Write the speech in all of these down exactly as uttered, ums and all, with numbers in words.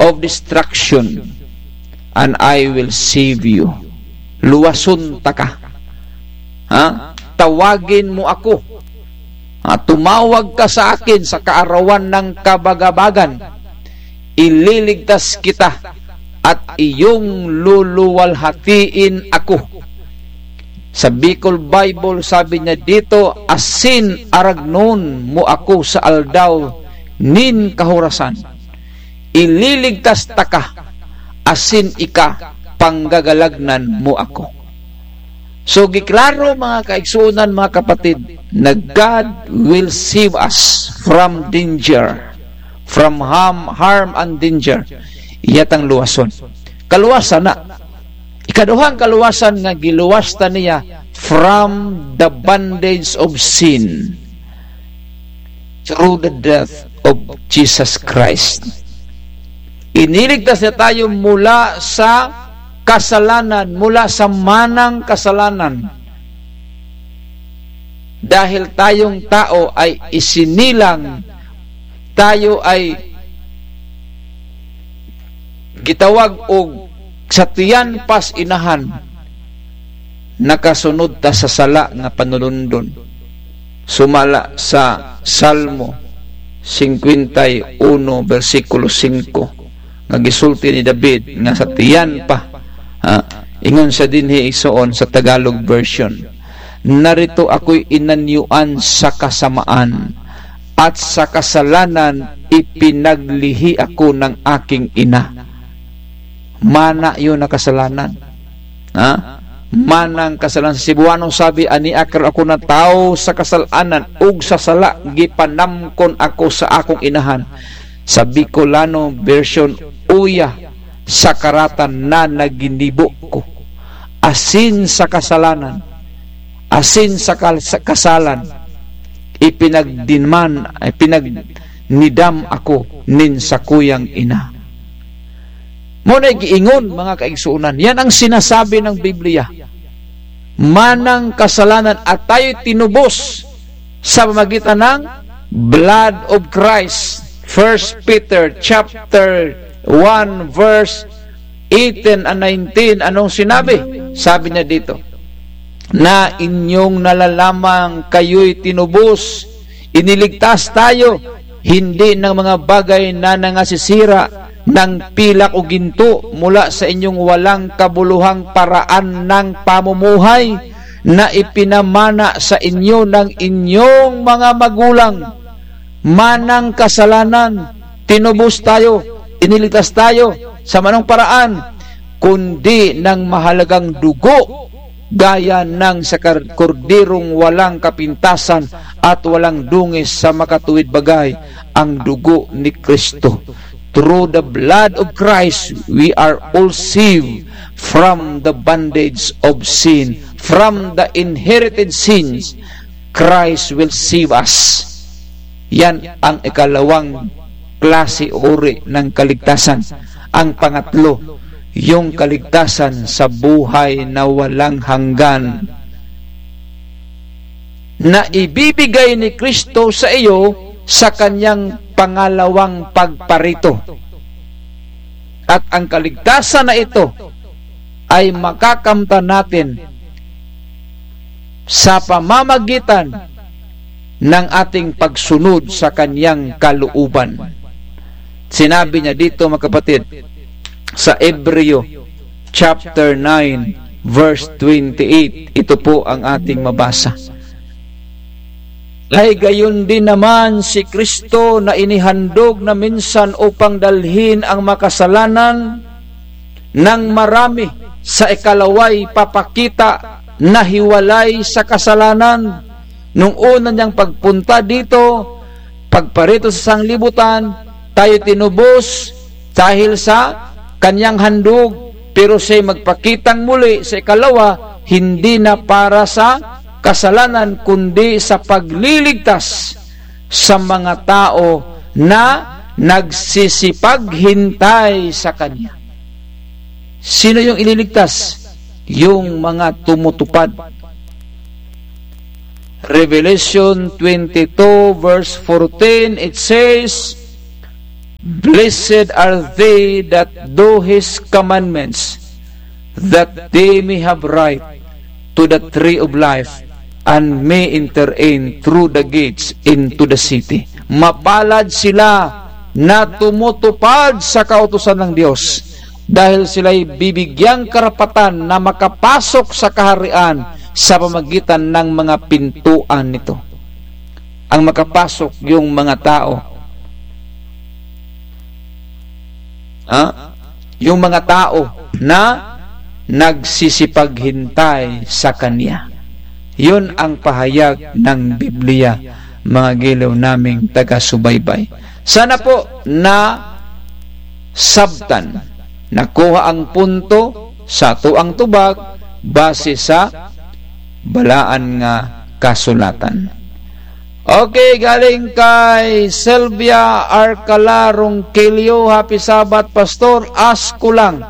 of destruction, and I will save you. Luwason taka. Ha? Tawagin mo ako. Ha? Tumawag ka sa akin sa kaarawan ng kabagabagan. Ililigtas kita at iyong luluwalhatiin ako. Sa Bicol Bible, sabi niya dito, "Asin aragnon mo ako sa aldaw nin kahurasan. Ililigtas taka, asin ika, panggagalagnan mo ako." So, giklaro, mga kaigsunan, mga kapatid, na God will save us from danger, from harm, harm and danger. Iyatang luwason. Kaluwasan na. Ikaduhang kaluwasan nga giluwas ta niya from the bondage of sin through the death of Jesus Christ. Iniligtas niya tayo mula sa kasalanan, mula sa manang kasalanan. Dahil tayong tao ay isinilang, tayo ay gitawag og sa tiyan pas inahan, nakasunod ta sa sala nga panulundon. Sumala sa Salmo singkwenta y uno, bersikulo singko, nga gisulti ni David nga sa tiyan pa, ah, ingon siya dinhi igsoon sa Tagalog version, "Narito ako'y inanyuan sa kasamaan, at sa kasalanan ipinaglihi ako ng aking ina." Mana yun na kasalanan. Ha? Manang kasalanan. Sa Cebuano sabi, "Ania karo ako na tawo sa kasalanan ug sa sala, gipanamkon ako sa akong inahan." Sa Bicolano version, "Uya sa karatan na naginibo ko, asin sa kasalanan, asin sa kal-, sa kasalan, ipinagdiman, ipinagnidam ako nin sakuyang ina." Mao na giingon, mga kaigsunan. Yan ang sinasabi ng Biblia. Manang kasalanan at tayo tinubos sa pamagitan ng blood of Christ. First Peter chapter one, verse eighteen and nineteen. Anong sinabi? Sabi niya dito, "Na inyong nalalamang kayo'y tinubos, iniligtas tayo, hindi ng mga bagay na nangasisira, ng pilak o ginto, mula sa inyong walang kabuluhang paraan ng pamumuhay na ipinamana sa inyo ng inyong mga magulang." Manang kasalanan, tinubos tayo, iniligtas tayo. Sa manong paraan? Kundi ng mahalagang dugo, gaya ng sa kar-, korderong walang kapintasan at walang dungis sa makatuwid bagay, ang dugo ni Kristo. Through the blood of Christ, we are all saved from the bondage of sin, from the inherited sins. Christ will save us. Yan ang ikalawang klase o uri ng kaligtasan. Ang pangatlo, yung kaligtasan sa buhay na walang hanggan na ibibigay ni Kristo sa iyo sa kanyang pangalawang pagparito. At ang kaligtasan na ito ay makakamtan natin sa pamamagitan ng ating pagsunod sa kanyang kalooban. Sinabi niya dito, mga kapatid, sa Hebreo chapter nine, verse twenty-eight, ito po ang ating mabasa. Ay gayon din naman, si Kristo na inihandog na minsan upang dalhin ang makasalanan ng marami, sa ikalaway papakita na hiwalay sa kasalanan. Nung una niyang pagpunta dito, pagparito sa sanglibutan, tayo tinubos dahil sa kanyang handog, pero siya'y magpakitang muli sa ikalawa, hindi na para sa kasalanan, kundi sa pagliligtas sa mga tao na nagsisipaghintay sa kanya. Sino yung ililigtas? Yung mga tumutupad. Revelation twenty-two verse fourteen, it says, "Blessed are they that do his commandments, that they may have right to the tree of life and may enter in through the gates into the city." Mapalad sila na tumutupad sa kautusan ng Diyos, dahil sila'y bibigyang karapatan na makapasok sa kaharian sa pamagitan ng mga pintuan nito. Ang makapasok, yung mga tao, ha? Yung mga tao na nagsisipaghintay sa Kanya. Yun ang pahayag ng Biblia, mga giliw naming taga-subaybay. Sana po na sabtan, nakuha ang punto sa atoang tubag base sa balaan nga kasulatan. Okay, galing kay Sylvia Arcala Ronquillo, "Happy Sabbath, Pastor. Ask ko lang,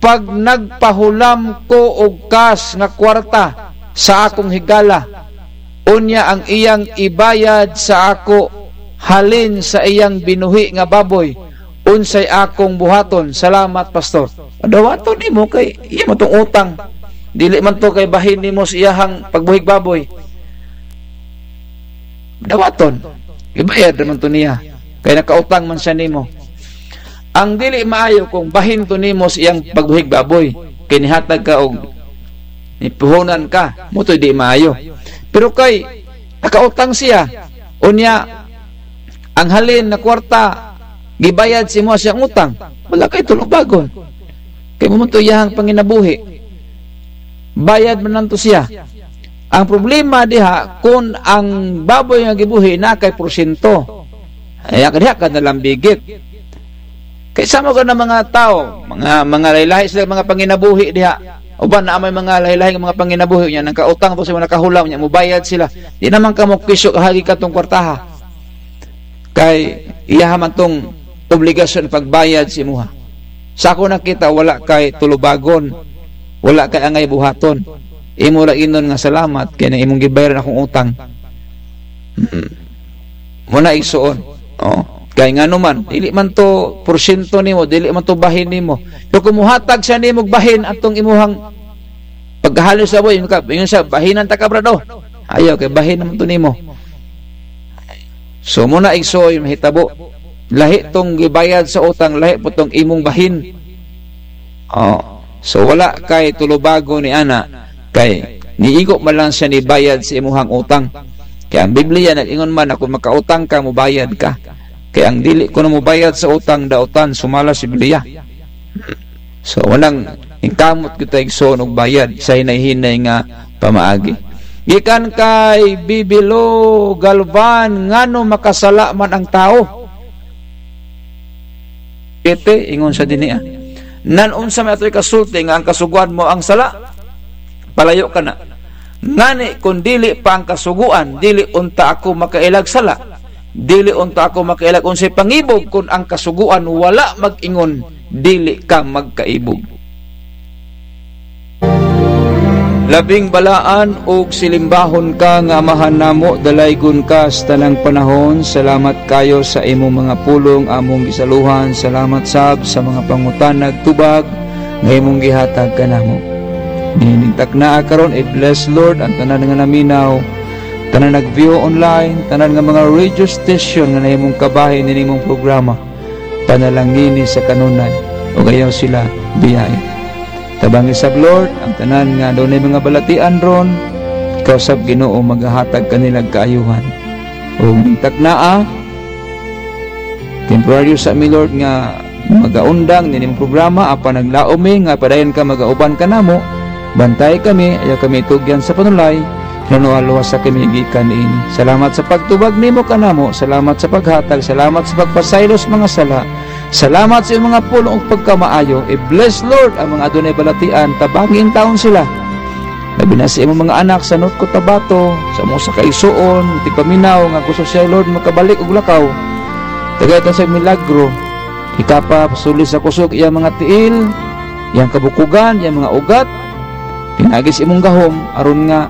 pag nagpahulam ko og kas nga kwarta sa akong higala, unya ang iyang ibayad sa ako halin sa iyang binuhi nga baboy, unsay akong buhaton? Salamat, Pastor." Dawaton nimo kay iya man tong utang. Dili man to kay bahin nimo sa iyahang pagbuhig baboy. Dawaton. Ibayad naman to niya. Kay nakautang man siya nimo. Ang dili maayo kung bahin to nimo sa iyang pagbuhig baboy. Kay nihatag ka og nipuhunan ka. Mo to di maayo. Pero kay nakautang siya. Unya, ang halin na kwarta, gibayad si mo siyang utang. Wala kay tulubagon. Kay mo man to iyahang panginabuhi. Bayad man lang to siya. Ang problema diha, kun ang baboy nga gibuhi na kay porsyento. Ay, diha ka na lang bigit. Kay sa mga na mga tao, mga, mga lahi-lahi sila mga panginabuhi diha. Uban na may mga lahi-lahi nga mga panginabuhi niya, nagkautang to sa mga nakahulam niya, mubayad sila. Di naman ka mo kisyo kahagi ka tong kwartaha. Kay iya man tong obligasyon pagbayad sa imuha. Sa ako nakita, wala kay tulubagon, wala kay angay buhaton. Imo ra inon nga salamat kay na imong gibayaran akong utang. Mm. Muna igsuon. Oh. Kay ngano man, dili man to porsyento nimo, dili man to bahin nimo. Pero kung muhatag siya nimo bahin atong imuhang pagkahalos sa buhay, yun ka, yun siya, bahinan ta ka, brad, oh. Ayaw, kay bahin naman to nimo. So, muna igsuon yung mahitabo. Lahi tong gibayad sa utang, lahi po tong imong bahin. Oh. So, wala kay tulubago ni ana, kay niigo man lang siya ni bayad sa imuhang utang. Kaya ang Biblia nag-ingon man na kung makautang ka, mubayad ka. Kaya ang dili ko na mubayad sa utang, daotan, sumala sa Biblia. So, walang ingkamot kita igsoon og bayad sa hinay-hinay nga pamaagi. Gikan kay Bibilo Galvan, ngano makasala man ang tawo? Ete, ingon sa dini, ah. Nan unsa may atoy kasulti nga ang kasugoan mo ang sala? Palayo ka na. Ngani, kun dili pa ang kasugoan, dili unta ako makailag sala. Dili unta ako makailag unsay pangibog kun ang kasugoan wala mag-ingon, dili ka magkaibog. Labing balaan ug silimbahon ka nga Amahan namo, dalaygon ka sa tanang panahon. Salamat kayo sa imong mga pulong among gisaluhan. Salamat sab sa mga pangutan nagtubag nga imong gihatag kanamo. Nining taknaa karon, i-bless, Lord, ang tanan nga naminaw, tanan nag-view online, tanan nga mga radio station nga nahimong kabahin nin imong programa. Panalangini sa kanunay, ug ayaw sila biyahe. Tabangi sab, Lord, ang tanan nga adunay mga balatian ron, ikaw sab, Ginoo, maghahatag kanila kaayuhan. Ug ning taknaa, temporaryo sa mi, Lord, nga magaundang nin imong programa, apan naglaom mi nga padayon ka magauban kanamo. Bantay kami, ayaw kami itugyan sa panulay, lunuha-luha sa kami gikan niini. Salamat sa pagtubag nimo kanamo, salamat sa paghatag, salamat sa pagpasaylo sa mga sala. Salamat sa iyong mga pulong ug pagkamaayo. I-bless, Lord, ang mga adunay balatian, tabangi intawon sila. Labi na sa imong mga anak sa North Cotabato, sa mga sa kaigsoon, tigpaminaw, nga gusto siya, Lord, makabalik og lakaw. Tagay ta sa milagro. Ikapasuli sa kusog iyang mga tiil, iyang kabukugan, iyang mga ugat. Pinagi sa imong gahom, aron nga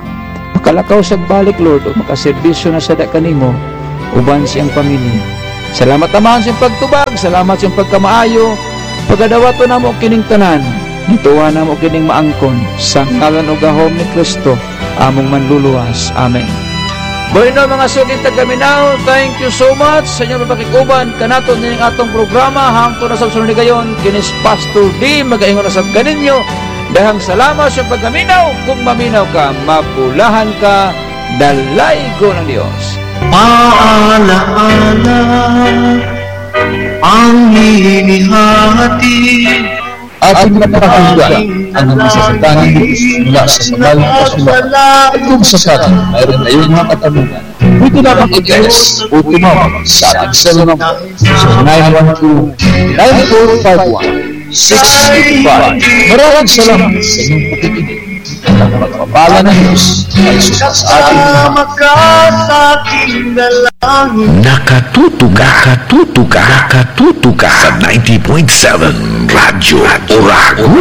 makalakaw siya balik, Lord, o makaserbisyo na siya kanimo, uban sa iyang pamilya. Salamat, Amahan, sa pagtubag, salamat sa pagkamaayo. Pagadawaton namo kining tanan, ituwa namo kining maangkon, sa ngalan o gahom ni Cristo, among Manluluwas. Amen. Bueno, mga suking taga-Minao, thank you so much sa inyong pakikuban kanato ning atong programa. Hangtod na sa sunod higayon, kini si Pastor D, magaingon na sab kaninyo. Daghang salamat sa pagkaminaw. Kung maminaw ka, mapulahan ka, dalaygon ang Dios. Paalaala, panghihihati. Ating napakinggan ang mga salita ni Jesus mula sa Banal na Kasulatan. Kung sakali mayroon kayong mga katanungan, pwede lamang i-text o tumawag sa ating cell number, zero nine one two, nine four five one, six eight five. Maraming salamat sa inyong pakikinig. Ang pagpapala ng Diyos ay sumasa sa ating lahat. Nakatutuka, nakatutuka, nakatutuka sa ninety point seven Radyo Oragon.